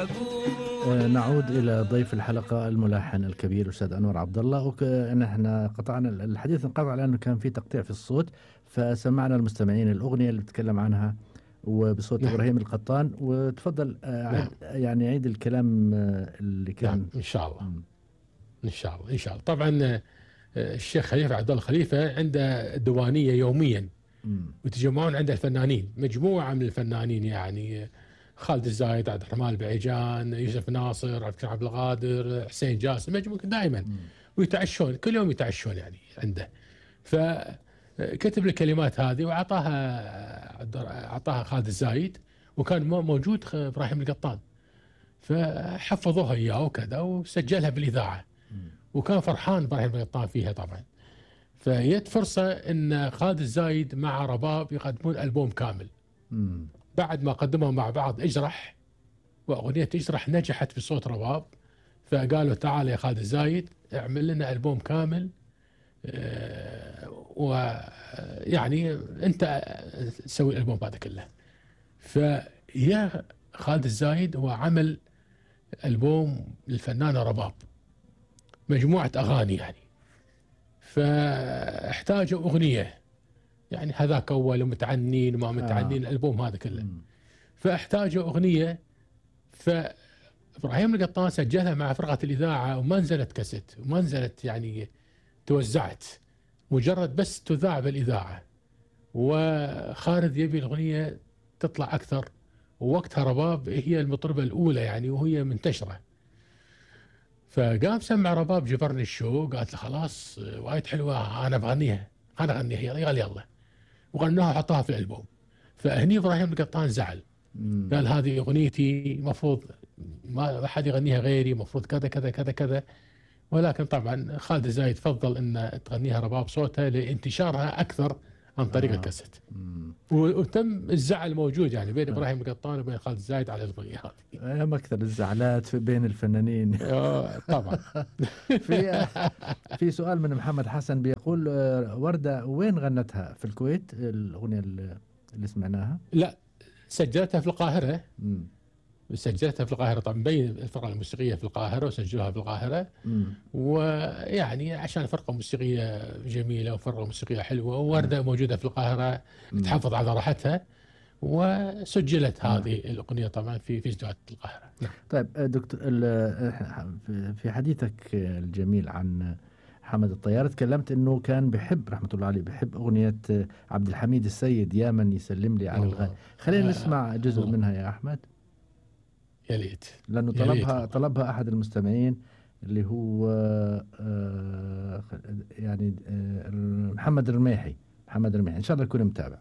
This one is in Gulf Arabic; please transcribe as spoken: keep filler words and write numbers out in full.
آه، نعود إلى ضيف الحلقة الملحن الكبير الأستاذ أنور عبد الله. ونحن قطعنا الحديث، انقطع لأنه كان في تقطيع في الصوت، فسمعنا المستمعين الأغنية اللي بتتكلم عنها وبصوت نعم. إبراهيم القطان. وتفضل آه، عيد نعم. يعني عيد الكلام آه، اللي كان. نعم إن شاء الله. مم. إن شاء الله إن شاء الله. طبعا آه، الشيخ خليفة عبد الله خليفة عنده ديوانية يوميا مم. وتجمعون عنده الفنانين، مجموعة من الفنانين، يعني خالد الزايد، عبد الرحمن البعيجان، يوسف ناصر، عبد الكريم عبد القادر، حسين جاسم، مجموعة دائما. مم. ويتعشون كل يوم يتعشون يعني عنده. فكتب الكلمات هذه وأعطاها أعطاها خالد الزايد، وكان موجود إبراهيم القطان، فحفظوها إياه وكذا وسجلها بالإذاعة. مم. وكان فرحان إبراهيم القطان فيها طبعا. فجت فرصة إن خالد الزايد مع رباب يقدمون ألبوم كامل. مم. بعد ما قدموا مع بعض اجرح، وأغنية اجرح نجحت بصوت رباب، فقالوا تعال يا خالد الزايد اعمل لنا ألبوم كامل، آه، ويعني أنت تسوي الألبوم هذا كله. فيا خالد الزايد هو عمل ألبوم للفنانة رباب، مجموعة أغاني يعني. فاحتاجوا أغنية، يعني هذاك أول متعنين وما متعنين، آه. الألبوم هذا كله. مم. فاحتاجوا أغنية، فإبراهيم القطان سجلها مع فرقة الإذاعة، وما نزلت كاسيت وما نزلت يعني توزعت، مجرد بس تذاع بالإذاعة. وخالد يبي الأغنية تطلع أكثر، ووقتها رباب هي المطربة الأولى يعني وهي منتشرة. فقام سمع رباب جبرني الشوق، قالت له خلاص وايد حلوة أنا بغنيها، أنا أغنيها. قال يلا، وغناها وحطها في الألبوم. فهني إبراهيم القطان زعل، مم. قال هذه أغنيتي، مفروض ما حد يغنيها غيري، مفروض كذا كذا كذا كذا. ولكن طبعا خالد الزايد فضل أن تغنيها رباب صوتها لانتشارها أكثر عن طريق آه. الكاسيت. مم. وتم الزعل موجود يعني بين آه. إبراهيم القطان وبين خالد الزايد على الأغنية هذه. أيام أكثر الزعلات في بين الفنانين. آه، طبعا. في في سؤال من محمد حسن بيقول آه، وردة وين غنتها؟ في الكويت الأغنية اللي اللي سمعناها؟ لا، سجلتها في القاهرة. مم. سجلتها في القاهرة طبعا، بين الفرقة الموسيقية في القاهرة وسجلوها في القاهرة. مم. ويعني عشان فرقة موسيقية جميلة وفرقة موسيقية حلوة، ووردة موجودة في القاهرة مم. تحافظ على راحتها، وسجلت نعم. هذه الأغنية طبعا في في استوديوهات القاهرة. نعم. طيب آه، دكتور ال- في- في حديثك الجميل عن حمد الطيار تكلمت انه كان بحب رحمة الله عليه، بحب اغنية عبد الحميد السيد يا من يسلم لي على الله. الغالي. خلينا آه، نسمع جزء الله. منها يا احمد، يا ليت. لانه يا ريت طلبها والله. طلبها احد المستمعين اللي هو آه، يعني آه، محمد الرميحي. محمد الرميحي ان شاء الله يكون متابع.